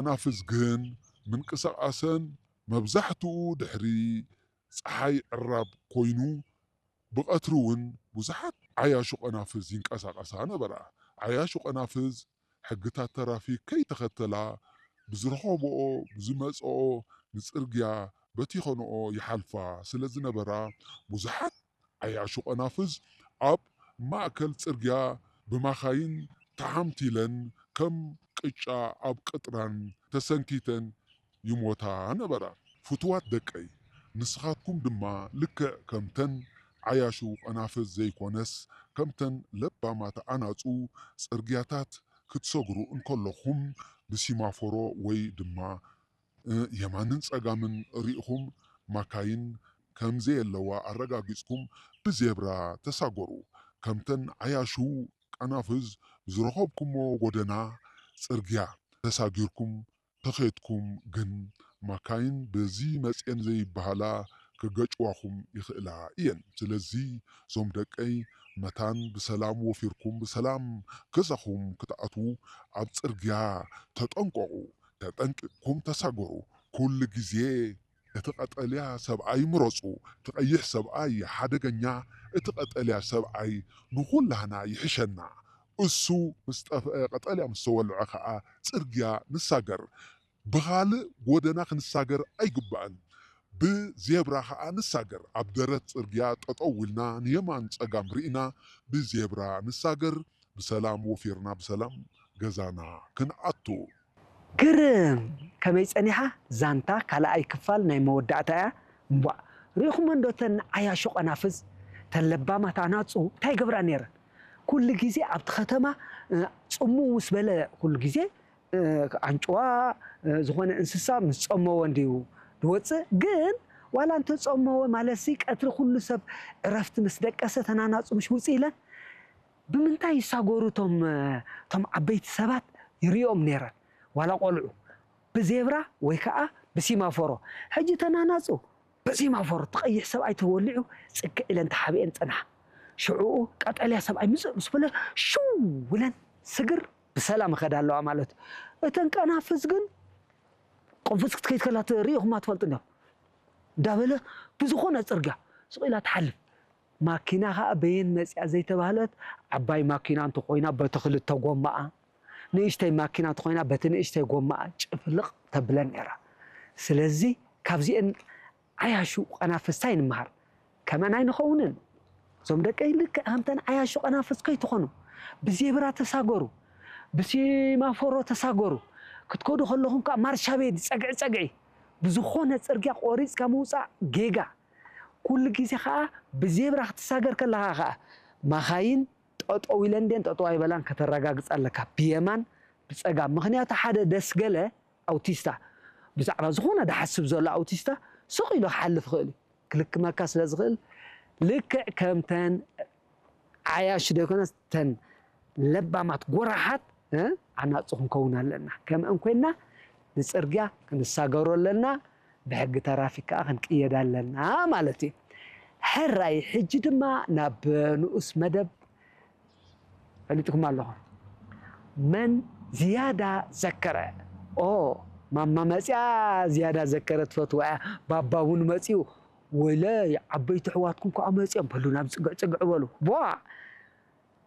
ቀናፍዝ ግን ምንቅስቓሰን መብዛሕትኡ ድሕሪ ጸሓይ ዕራብ ኮይኑ፣ ብቐትሪ እውን ብዙሓት ዓያሹ ቀናፍዝ ይንቀሳቐሳ ነበራ። ዓያሹ ቀናፍዝ ሕግታት ተራፊክ ከይተኸተላ፣ ብዝረኸብኦ ብዝመጽኦ ንጽርግያ በቲኸንኦ ይሓልፋ ስለ ዝነበራ፣ ብዙሓት ዓያሹ ቀናፍዝ ኣብ ማእከል ጽርግያ ብማኻይን ተሓምቲለን ከም ቅጫ ኣብ ቅጥራን ተሰንኪተን ይሞታ ነበራ። ፍቱዋት ደቀይ፣ ንስኻትኩም ድማ ልክዕ ከምተን ዓያሹ ቀናፍዝ ዘይኮነስ፣ ከምተን ለባማት ኣናጹ ጽርግያታት ክትሰግሩ እንከለኹም፣ ብሲማፎሮ ወይ ድማ፣ እ፣ የማንን ጸጋምን ርኢኹም ማካይን ከም ዘየለዋ ኣረጋጊጽኩም ብዜብራ ተሳገሩ። ከምተን ዓያሹ ቀናፍዝ ዝረኸብኩሞ ጎደና ጽርግያ ተሳጊርኩም ተኸድኩም ግን፣ ማካይን በዚ መጽኤን ዘይበሃላ ክገጭዋኹም ይኽእላ እየን። ስለዚ እዞም ደቀይ፣ መታን ብሰላም ወፊርኩም ብሰላም ገዛኹም ክትኣትዉ ኣብ ጽርግያ ተጠንቀቑ። ተጠንቂቕኩም ተሳገሩ። ኩሉ ግዜ እቲ ቀጠልያ ሰብኣይ ምረጹ። እቲ ቀይሕ ሰብኣይ ሓደገኛ፣ እቲ ቀጠልያ ሰብኣይ ንኹላህና ይሕሸና። እሱ ምስ ጠፍአ፣ ቀጠልያ ምስ ተወልዐ ኸኣ ጽርግያ ንሳገር። ብኻልእ ጎደና ክንሳገር ኣይግባእን። ብዜብራ ኸኣ ንሳገር። ኣብ ደረት ጽርግያ ጠጠው ኢልና ንየማን ጸጋም ርኢና ብዜብራ ንሳገር። ብሰላም ወፊርና ብሰላም ገዛና ክንኣቱ። ግርም! ከመይ ጸኒሓ? ዛንታ ካልኣይ ክፋል ናይ መወዳእታ እያ። እምቧእ፣ ርኢኹመን ዶ እተን ዓያሹ ቀናፍዝ? እተን ለባማት ኣናጹ እንታይ ይገብራ ነይረን? ኩሉ ግዜ ኣብቲ ከተማ፣ እ፣ ጽምው ምስ በለ ኩሉ ግዜ፣ እ፣ ኣንጭዋ፣ እ፣ ዝኾነ እንስሳ ምስ ጸመወ እንድዩ ዝወጽእ። ግን ዋላ እንተጸመወ ማለትሲ ቀትሪ ኩሉ ሰብ ዕረፍቲ ምስ ደቀሰ እተን ኣናጹ ምሽ ውጽእ ኢለን ብምንታይ ይሳገሩ እቶም፣ እቶም ዓበይቲ ሰባት ይርእዮም ነይረን፣ ዋላ ቆልዑ፣ ብዜብራ ወይ ከኣ ብሲማፎሮ። ሕጂ እተን ኣናጹ ብሲማፎሮ እቲ ቀይሕ ሰብኣይ ተወሊዑ ጽግዕ ኢለን ተሓቢኤን ጸንሓ። ሽዑኡ ቀጠልያ ሰብኣይ ምጽእ ምስ በለ ሽው ኢለን ስግር ብሰላም ይኸዳ ኣለዋ ማለት እዩ። እተን ቀናፍዝ ግን ቅንፍዝ ክትከይድ ከላ ርኢኹማ ትፈልጡ እንዲኹም። እንዳበለ ብዝኾነ ጽርግያ ስቕ ኢላ ትሓልፍ። ማኪና ኸኣ በየን መጺኣ ዘይተባህለት፣ ዓባይ ማኪና እንተኾይና በቲ ክልተ ጎማኣ፣ ንእሽተይ ማኪና እንተኾይና በቲ ንእሽተይ ጎማኣ ጭፍልቕ ተብለን ነይራ። ስለዚ ካብዚአን ዓያሹ ቀናፍስቲ እንታይ ንምሃር? ከመን ኣይንኸውንን። እዞም ደቀይ ልክዕ ከምተን ዓያሹ ቀናፍስ ከይትኾኑ። ብዜብራ ተሳገሩ፣ ብሲማፎሮ ተሳገሩ። ክትከዱ ከለኹም ከኣ ማርሻ ቤት ጸግዒ ጸግዒ። ብዝኾነ ጽርግያ ቆሪጽካ ምውጻእ ጌጋ። ኩሉ ግዜ ከኣ ብዜብራ ክትሳገር ከለኻ ከኣ ማኻይን ጠጠው ኢለን ድየን ጠጠው ኣይበላን ከተረጋግጽ ኣለካ። ብየማን ብጸጋም። ምኽንያቱ ሓደ ደስ ገለ ኣውቲስታ ብዛዕባ ዝኾነ ድሓስብ ዘሎ ኣውቲስታ ስቕ ኢሉ ክሓልፍ ይኽእል እዩ። ክልክመካ ስለ ዝኽእል ልክዕ ከምተን ዓያሹ ዘይኮነስ ተን ለባማት ጎራሓት፣ እ፣ ኣናጹ ክንከውን ኣለና። ከምአን ኮይንና ንጽርግያ ክንሳገሮ ኣለና፣ ብሕጊ ተራፊክ ከኣ ክንቅየድ ኣለና ማለት እዩ። ሕራይ፣ ሕጂ ድማ ናብ ንኡስ መደብ ፈሊጥኩም ኣለኹም። መን ዝያዳ ዘከረ? ኦ፣ ማማ መጽያ ዝያዳ ዘከረ ትፈትዋ እያ። ባባ እውን መጽዩ፣ ወይለይ፣ ዓበይቲ ኣሕዋትኩም ከኣ መጽዮም፣ በሉ ናብ ጽግዕ ጽግዕ በሉ። ቧ!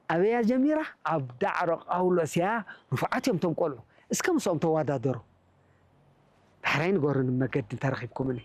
ኣበያ ጀሚራ? ኣብ ዳዕሮ ጳውሎስ እያ። ንፉዓት እዮም እቶም ቆልዑ። እስከ ምስኦም ተወዳደሩ። ዳሕራይ ንገሩኒ መገዲ እንተረኺብኩምኒ።